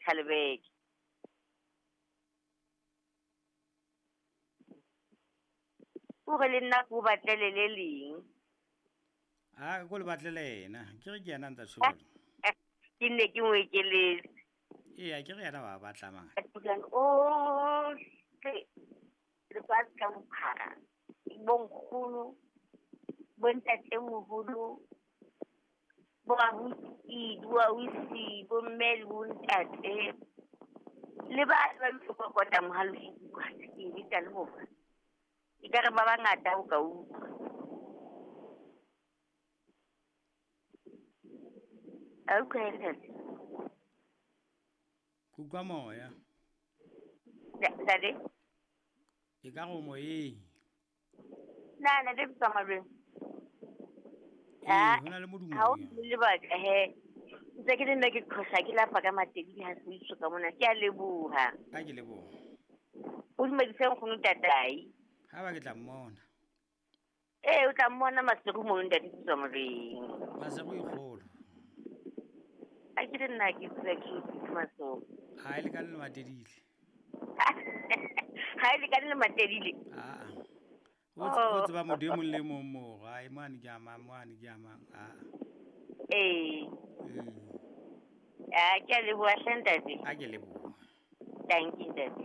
Thalebeke. O re le nna ko batlele le leng. A ko le batlele yena. Ke re ke yena a ntsa tjho jwalo. Ke nne ke mo ekeletse. Eya, ke re yena wa batla mangata. Ohle lefatshe ka bophara, bonkgono, bontatemoholo, bo abuti, bo ausi, bomme le bontate, le ba ba kokota mohalosi ke bitsa le bona. Ekare ba bangata o ka utlwa. A utlwa ntate? Ke utlwa moya. Ntate? E ka re o moyeng. Na ntate Mtsamalweng? Ee, ho na le modumo. Ha o lebaka he. Ntse ke le nna ke qhosa ke lapa ka matebile ha se ka mona. Ke a leboha. A ke leboha. O dumedise nkgono tatai. Ha ba ke tla mmona. Ee, o tla mmona Maseru mono ntate Mtsamalweng. Maseru e kgolo. A ke le nna ke tsela ke Maseru. Ha e lekane le Matedile. Ha e lekane le Matedile. Aa. O tseba motho e mong le mong moo. Ai mane ke a mang, mane ke a mang. Aa. Ee. A ke a leboha hle ntate. A ke leboha. Thank you ntate.